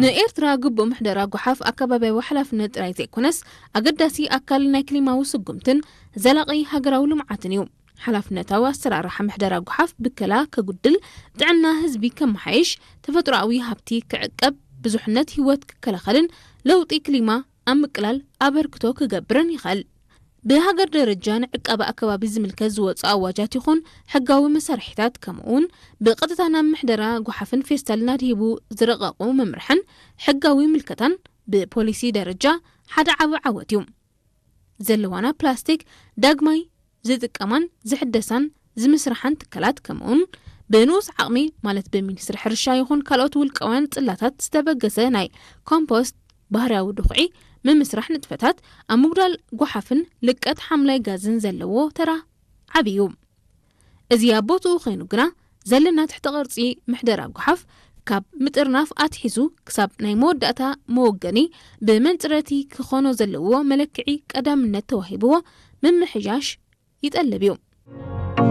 ንኤርትራ ግቡእ ምሕደራ ጓሓፍ ኣከባቢያዊ ሓላፍነት ጥራይ ዘይኮነስ ኣገዳሲ ኣካል ናይ ክሊማዊ ስጉምትን ዘላቒ ሃገራዊ ልምዓትን እዩ። ሓላፍነታዊ ኣሰራርሓ ምሕደራ ጓሓፍ ብከላ ከጉድል፣ ጥዕና ህዝቢ ከመሓይሽ፣ ተፈጥሮኣዊ ሃብቲ ክዕቀብ፣ ብዙሕነት ህይወት ክከላኸልን ለውጢ ክሊማ ኣብ ምቅላል ኣበርክቶ ክገብርን ይኽእል። ብሃገር ደረጃ ንዕቃበ ኣከባቢ ዝምልከት ዝወፁ ኣዋጃት ይኹን ሕጋዊ መሳርሒታት፣ ከምኡውን ብቐጥታ ናብ ምሕደራ ጓሓፍን ፌስታልን ኣድሂቡ ዝረቐቑ መምርሕን ሕጋዊ ምልከታን ብፖሊሲ ደረጃ ሓደ ዓቢ ዓወት እዩ። ዘለዋና ፕላስቲክ ዳግማይ ዝጥቀማን ዝሕደሳን ዝምስርሓን ትካላት፣ ከምኡውን ብንኡስ ዓቕሚ፣ ማለት ብሚኒስትሪ ሕርሻ ይኹን ካልኦት ውልቃውያን ጽላታት ዝተበገሰ ናይ ኮምፖስት ባህርያዊ ድኹዒ ምምስራሕ ንጥፈታት ኣብ ምጉዳል ጓሓፍን ልቀት ሓምላይ ጋዝን ዘለዎ ተራ ዓቢ እዩ። እዚ ኣብ ቦትኡ ኮይኑ ግና፣ ዘለና ትሕተ ቅርጺ ምሕደራ ጓሓፍ ካብ ምጥርናፍ ኣትሒዙ ክሳብ ናይ መወዳእታ መወገኒ ብመንጽረቲ ክኾኖ ዘለዎ መለክዒ ቀዳምነት ተዋሂብዎ ምምሕያሽ ይጠልብ እዩ።